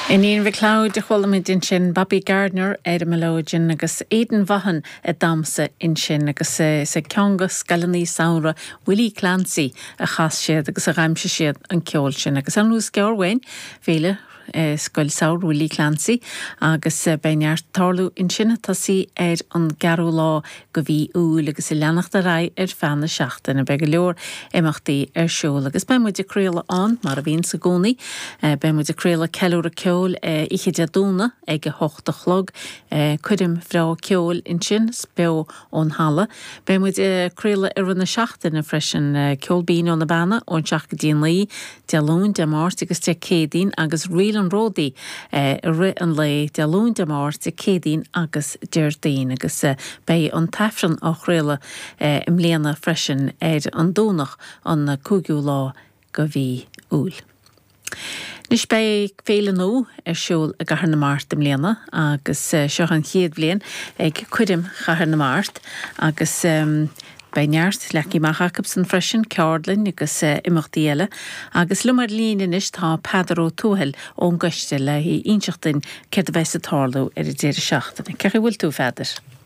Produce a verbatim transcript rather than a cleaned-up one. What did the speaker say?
Iníon McLeod a chuala muid ansin Bobby Gardiner ar an mileoidean agus Aidan Vaughan ag damhsa ansin agus is ag ceann de scoileanna samhraidh Willie Clancy a chas siad agus a d'aimsigh siad an ceol sin agus an gearr uainn féile Scoil Samhraidh Willie Clancy agus beidh neart ag tarlú ansin ag tosú ar an gceathrú lá de mhí Iúil agus ag leanacht ar aghaidh ar feadh na seachtaine beidh go leor imeachtaí ar siúl agus beidh muid ag craoladh ann mar a bhíonn i gcónaí beidh muid ag craoladh ceiliúradh ceoil oíche Dé Domhnaigh ag a hocht a chlog coirm bhreá ceoil ansin beo ón halla. Beidh muid ag craoladh i rith na seachtaine freisin ceol binn ó na Beanna ón seacht go dtí naoi Dé Luain Dé Máirt agus Dé Céadaoin agus Ríl an Ródaí i rith an lae Dé Luain Dé Máirt Dé Céadaoin agus Déardaoin agus beidh an tAifreann á chraoladh i mbliana freisin ar an Domhnach an cúigiú lá de mhí Iúil. Anois beidh féile nua ar siúl i gCathair na Mart i mbliana agus seo an chéad bhliain ag Coirm Chathair na Mart agus beidh neart leagtha amach acusan freisin ceardlann agus imeachtaí eile agus liom ar líne anois tá Peadar Ó Tuathail ón gcoiste le inseacht dúinn céard a bheas ag tarlú ar an deireadh seachtaine. Cén chaoi a bhfuil tú Pheadair?